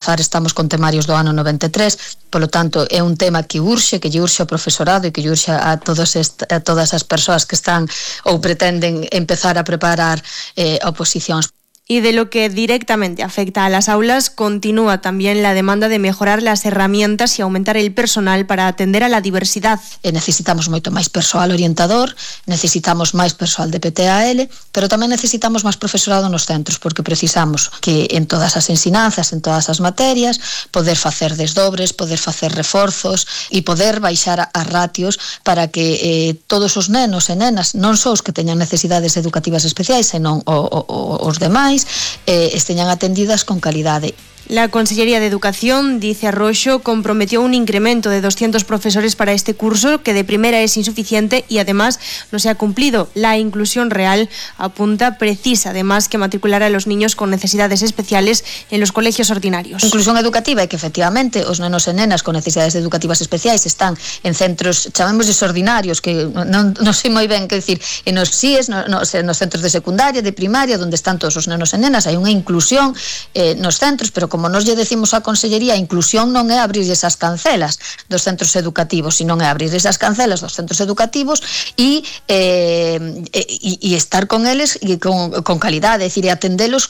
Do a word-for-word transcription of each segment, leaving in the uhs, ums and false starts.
Estamos con temarios do ano noventa e tres, polo tanto é un tema que urxe, que lle urxe ao profesorado e que lle urxe a, todos est, a todas as persoas que están ou pretenden empezar a preparar eh, oposicións. Y de lo que directamente afecta a las aulas, continúa también la demanda de mejorar las herramientas y aumentar el personal para atender a la diversidad. E necesitamos moito máis persoal orientador, necesitamos máis persoal de P T A L, pero tamén necesitamos máis profesorado nos centros, porque precisamos que en todas as ensinanzas, en todas as materias, poder facer desdobres, poder facer reforzos e poder baixar as ratios para que eh, todos os nenos e nenas, non só os que teñan necesidades educativas especiais, senón o, o, o, os demais, Eh, esteñan atendidas con calidade. La Consellería de Educación, dice Arroxo, comprometió un incremento de doscientos profesores para este curso, que de primera es insuficiente y además no se ha cumplido. La inclusión real, apunta, precisa además que matricular a los niños con necesidades especiales en los colegios ordinarios. Inclusión educativa é que efectivamente os nenos e nenas con necesidades educativas especiais están en centros, chamémosles ordinarios, que non, non sei moi ben que decir, en os C I E S, no, no, nos centros de secundaria, de primaria, onde están todos os nenos e nenas, hai unha inclusión eh, nos centros, pero como Como nos lle decimos á Consellería, a inclusión non é abrir esas cancelas dos centros educativos, sino é abrir esas cancelas dos centros educativos e, eh, e, e estar con eles e con, con calidade, é dicir, e atendelos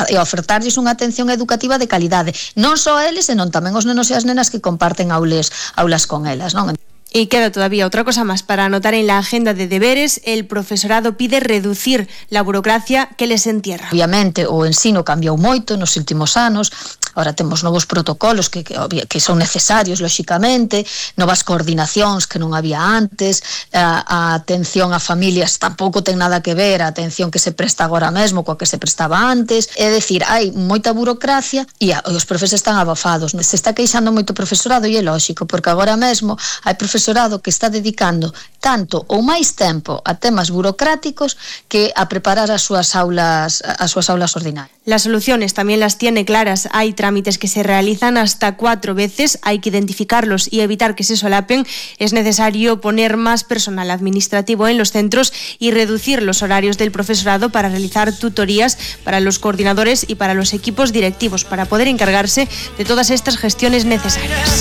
e ofertarlles unha atención educativa de calidade, non só a eles, senón tamén os nenos e as nenas que comparten aulas, aulas con elas, non? Y queda todavía otra cosa más para anotar en la agenda de deberes. El profesorado pide reducir la burocracia que les entierra. Obviamente o ensino cambiou moito nos últimos anos. Ahora temos novos protocolos que, que, que son necesarios, lóxicamente, novas coordinacións que non había antes, a, a atención a familias tampouco ten nada que ver a atención que se presta agora mesmo coa que se prestaba antes. É dicir, hai moita burocracia e, a, e os profes están abafados. Se está queixando moito o profesorado e é lóxico, porque agora mesmo hai profesorado que está dedicando tanto ou máis tempo a temas burocráticos que a preparar as súas aulas, as súas aulas ordinarias. Las soluciones también las tiene claras. Hay trámites que se realizan hasta cuatro veces, hay que identificarlos y evitar que se solapen. Es necesario poner más personal administrativo en los centros y reducir los horarios del profesorado para realizar tutorías para los coordinadores y para los equipos directivos, para poder encargarse de todas estas gestiones necesarias.